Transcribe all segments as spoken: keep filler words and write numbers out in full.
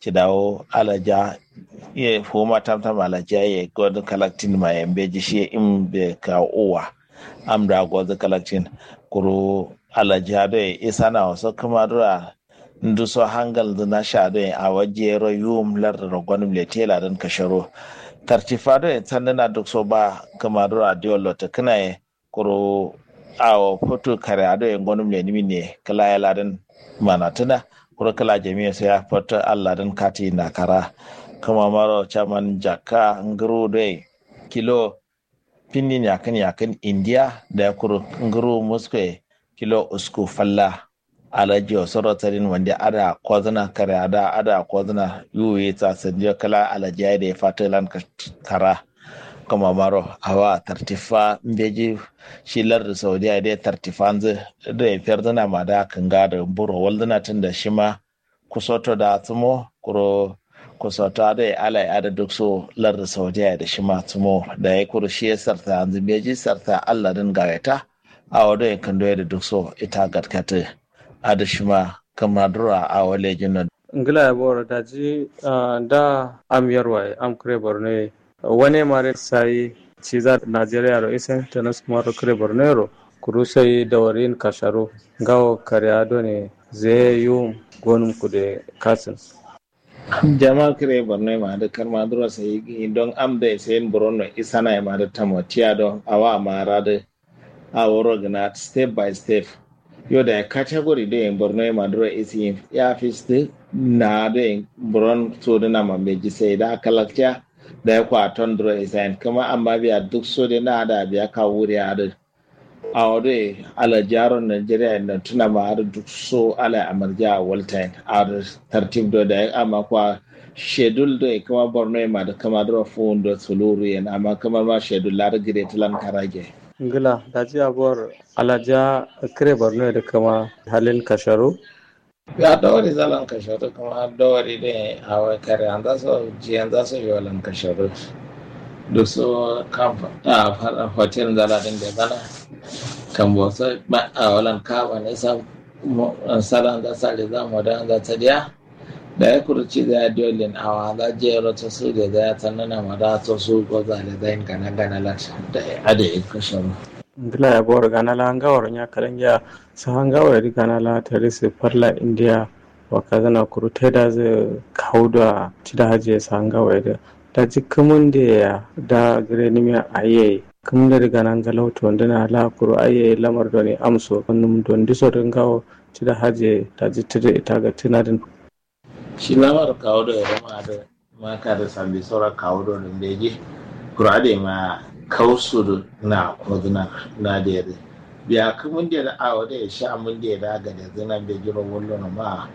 cidawo alaja ye fuma tamtam alaja ye godu kalaktin ma ye mbeji shi ye im be ka uwa. Am da godu kalaktin kuru alaja do ye isana waso kuma dura nduso hangal ndu na sha do ye awa jero yum lar rogon mle tela dan kasharo tartifa do ye sandana duk so ba kuma dura diollo ta kana ye kuru awo futu kare ado ye ngonum lenimi ne kǝla ye ladǝn manatǝna kuru kǝla jamiye so ya futu alladǝn kati nakara kǝmamaro caman jakka ngǝru doi kilo finnin yakǝn yakǝn indiya dayi kuru ngǝru musko ye kilo usku falla. Alaji osoro sadin wande ada kozǝna kare ada ada kozǝna yuwi sa sandiyo kǝla alaji yayi dai fatǝ lan kara kǝmamaro awa tartifa mbeji shi lardǝ saudiya dai tartifanzǝ doi ferdǝna ma da kǝnga dǝ buro waldǝna tunda shima kusoto da sǝmo kuro kusoto adoi alai adǝ dukso lardǝ saudiya dǝ shima sǝmo dayi kuru shiye sarta yanzǝ mbeji sarta alladǝn gaweta awo doi kǝndoye dǝ dukso ita gatkatǝ adǝ shima kǝmaduro awo lejinno. Ngla ye boro daji nda am yarwa ye am kǝre borno ye wane mare sayi ciza najeriya ro isen tanas kumaro kǝre borno yero kuru sai dawarin kasharo ngawo kare adone zeye yum gonum kude kasin. Jama kǝre borno ye ma adǝ karmaduro sayi don am doi sayin buronno isana ye ma adǝ tamo tiya do awa ma radǝ aworo gǝna step by step. Yo dayi category doi borno ye ma duro isiyin ya fis dǝ na doi buron sodǝna ma mbeji sai da kalakciya dayi kwa ton duro isayin kǝma amma biya duk sodǝ na da biya ka wuri adǝ awo doi alajaro nigeria notuna ma adǝ duk so alai amarja waltayin adǝ tartib do dayi amma kwa shedul doi kǝma borno ye ma dǝ kǝma duro fuwun do suluru yen amma kǝma ma shedul adǝ gǝde tǝlan karage. Ngla daji abor alaja kǝre borno ye dǝ kǝma halin kasharu. Ya dawari zalan kasharu kǝma dawari dǝ awo kare anza so ji anza so yolan kasharu duk so kam hotel nzala dǝn de zana kambo so awolan kaba ne sa sala anza sa de za moda anza sadiya. Dayi kuru ciza ya diyo lin awa za jero to su de za ya tannana ma da to su goza le za yin gana gana la. Dayi ade yin kashe ma. Ngla ya boro gana la ngawaro nya kalangiya saha ngawo yadi gana la tari su farla indiya. Wa kazana kuru taida zu kawu do a cida hajiye saha ngawo yadi. Daji kǝmǝnde ya da gǝre nimiya ayi yayi kǝmǝnde dǝ gana ngalau tondǝna la kuru ayi yayi lamar done amso num dondiso dǝ ngawo cida hajiye daji tǝdǝ ita gattǝna dǝn. Shi lamar kawu do yero ma adǝ ma kadǝ sambi soro kawu do dǝ mbeji kuru adǝ ye ma kausu dǝ na kodǝna na dǝ yedǝ biya kǝmǝnde dǝ awo do ye sha mǝnde dǝ a gadezǝ na mbeji ro wallono ma.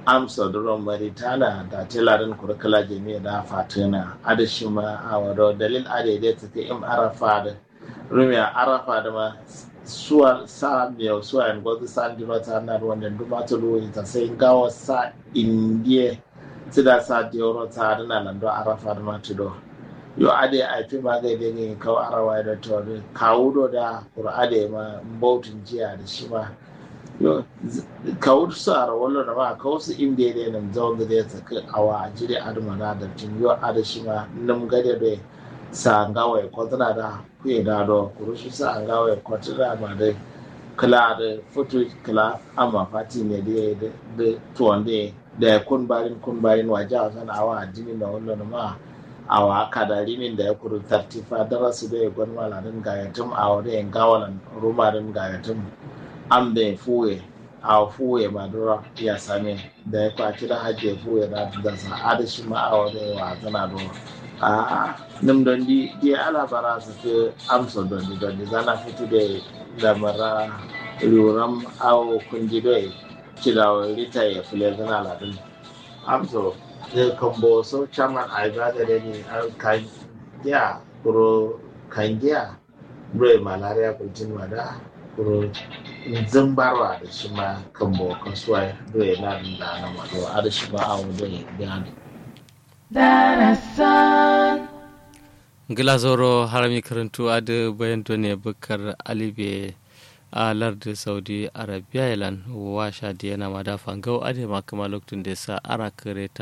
Amso duro maritana da tela dǝn kuru kǝla jamiye da fatǝna adǝ shima awo do dalil adǝ ye de tǝkǝ im arafa dǝ rumiya arafa dǝ ma suwa sa miyau suwa yen gozu sa ndiro sa na dǝ wande nduma tuluwuyi ta sai ngawo sa indiye sida sa dewuro sa dǝ na lando arafa dǝ ma tudo. Yo adǝ ye aifi ma gai de gai kau arawa ye do to dǝ kawu do da kuru adǝ ye ma mbautu njiya dǝ shima. Yo kawu su aro wallo nama kawu su inde de nǝm zaunzǝ de sǝkǝ awa jiri adǝ ma na dabcin yo adǝ shima nǝm gade do ye sa ngawo ye kotǝna da kuye da do kuru shi sa ngawo ye kotǝna ma dǝ kǝla dǝ futu kǝla amma fati ne dǝ ye dǝ tuwon dǝ ye dayi kun barin kun barin waja wasan awa addini no wallo nama. Awa kada rimin dayi kuru tartifa darasu do ye gonma ladǝn gayatǝm awo do ye ngawo lan ruma dǝn gayatǝm. Am do ye fuwe awo fuwe ma duro ya same. Dayi kwa kida hajje fuwe da dasa adǝ shima awo dǝ ye wazǝna do. A'a nǝm dondi diye ala bara sǝkǝ amso dondi dondi zana futu dǝ ye lamara riwuram awo kundi do ye cidawo rita ye fǝlezǝna ladǝn. Amso dǝ kambo so caman aiba gade ni kangiya kuro kangiya. Doi malaria gultin ma da kuro nzǝmbarwa dǝ shima kambo kasuwa doi nadǝn da nama do adǝ shima awo doi gani. Darasan. Ngla zoro harami kǝrǝntu adǝ bayan done bǝkkar alibe a lardǝ saudi arabiya ye lan wa sha diyena ma da fangau adǝ ye ma kǝma loktunde sa ara kǝre ta.